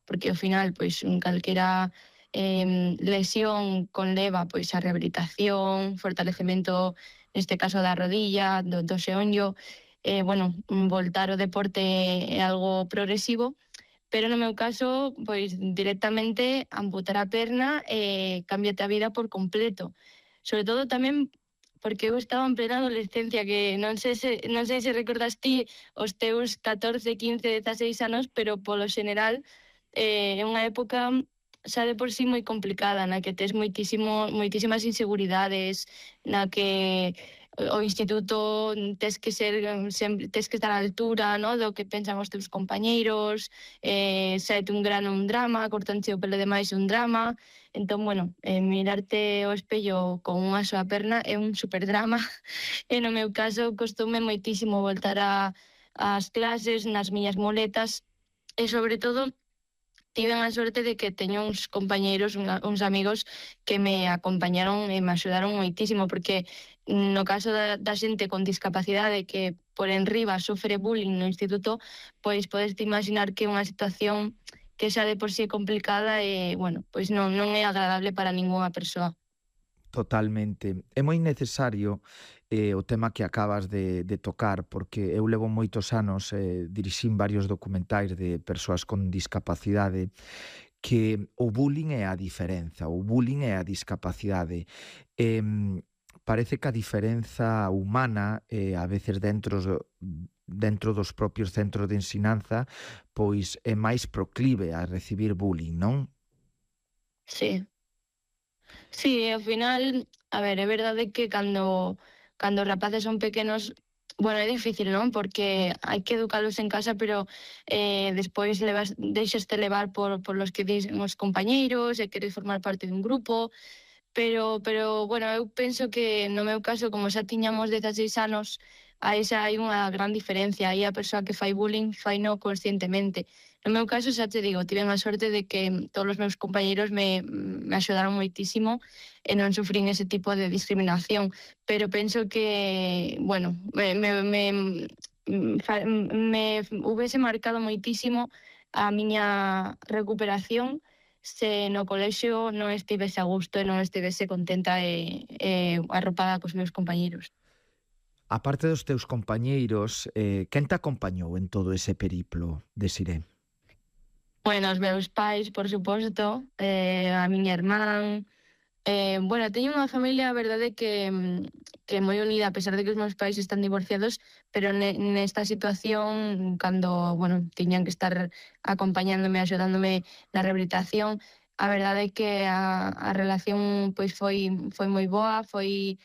porque ao final, pois, calquera lesión conleva pois a rehabilitación, fortalecemento, neste caso da rodilla, do xeonllo, bueno, voltar ao deporte é algo progresivo, pero no meu caso, pois directamente amputar a perna e cámbiate a vida por completo. Sobre todo tamén porque eu estaba en plena adolescencia, que non sei se recordas ti os teus 14, 15, 16 anos, pero polo xeneral é unha época xa de por sí moi complicada, na que tes moitísimas inseguridades, na que o instituto tes que estar á altura, no, do que pensan os teus compañeiros, saete un grano un drama, cortanche o pelo demais un drama. Entón, bueno, mirarte ao espello con unha soa perna é un superdrama e no meu caso costoume moitísimo voltar ás clases nas miñas muletas e sobre todo tiven a sorte de que teño uns compañeiros, uns amigos que me acompañaron e me axudaron moitísimo, porque no caso da xente con discapacidade que por enriba sofre bullying no instituto, pois podes te imaginar que é unha situación que xa de por sí é complicada e, bueno, pois non é agradable para ningunha persoa. Totalmente. É moi necesario o tema que acabas de tocar, porque eu levo moitos anos, dirixín varios documentais de persoas con discapacidade, que o bullying é a diferenza, o bullying é a discapacidade. Parece que a diferenza humana, a veces dentro dos propios centros de ensinanza, pois é máis proclive a recibir bullying, non? Sí. Sí, ao final, a ver, é verdade que cando os rapaces son pequenos, bueno, é difícil, non? Porque hai que educalos en casa, pero despois deixaste levar por los que dicen os compañeiros e queres formar parte dun grupo, pero bueno, eu penso que no meu caso, como xa tiñamos 16 anos, aí xa hai unha gran diferencia. Aí a persoa que fai bullying faino conscientemente. No meu caso, xa te digo, tiven a sorte de que todos os meus compañeiros me axudaron moitísimo e non sufrín ese tipo de discriminación. Pero penso que, bueno, me hubese marcado moitísimo a miña recuperación se no colexio non estivese a gusto e non estivese contenta e arropada cos meus compañeiros. A parte dos teus compañeiros, quen te acompañou en todo ese periplo, Desiré? Bueno, os meus pais, por suposto, a miña irmán, bueno, teño unha familia, a verdade, que é moi unida, a pesar de que os meus pais están divorciados, pero nesta situación, cando, bueno, tiñan que estar acompañándome, axudándome na rehabilitación, a verdade é que a relación pois foi moi boa, foi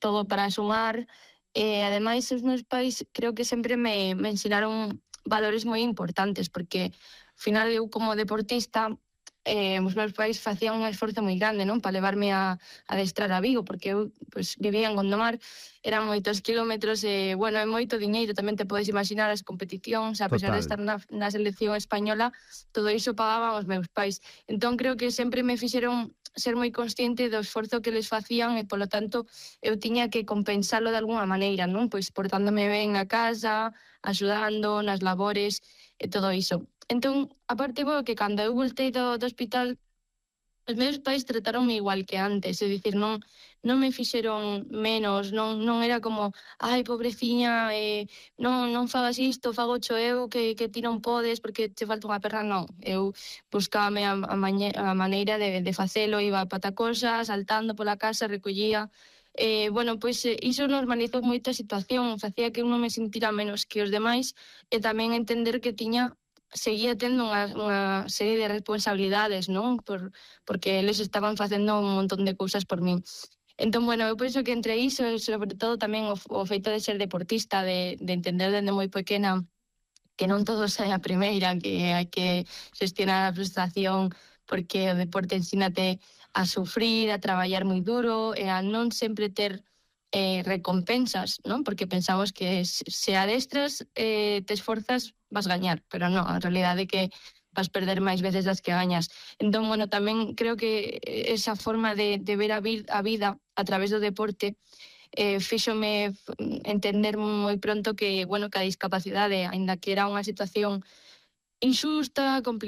todo para sumar, e ademais os meus pais creo que sempre me ensinaron valores moi importantes, porque ao final eu como deportista os meus pais facían un esforzo moi grande, non, para levarme a adestrar a Vigo, porque eu pois, vivía en Gondomar, eran moitos kilómetros e, bueno, é moito diñeiro, tamén te podes imaginar as competicións, a pesar de Total. estar na selección española, todo iso pagaban os meus pais. Entón, creo que sempre me fixeron ser moi consciente do esforzo que les facían e, polo tanto, eu tiña que compensalo de alguna maneira, non? Pois portándome ben a casa, axudando nas labores e todo iso. Entón, aparte, bueno, que cando eu voltei do hospital, os meus pais trataronme igual que antes, é dicir, non me fixeron menos, non era como, ai, pobreciña, non fagas isto, fagocho eu, que ti non podes porque che falta unha perna, non. Eu buscábame a maneira de facelo, iba a patacosa, saltando pola casa, recollía. Bueno, pois iso normalizou moito a situación, facía que eu non me sentira menos que os demais e tamén entender que seguía tendo unha serie de responsabilidades, non? Porque eles estaban facendo un montón de cousas por min. Entón, bueno, eu penso que entre iso, e sobre todo tamén o feito de ser deportista, de entender dende moi pequena que non todo sae a primeira, que hai que xestionar a frustración, porque o deporte ensínate a sufrir, a traballar moi duro e a non sempre ter recompensas, non? Porque pensamos que se adestras, te esforzas, vas gañar, pero non, a realidade é que vas perder máis veces das que gañas. Entón, bueno, tamén creo que esa forma de ver a vida a través do deporte fíxome entender moi pronto que, bueno, que a discapacidade, aínda que era unha situación injusta, complicada,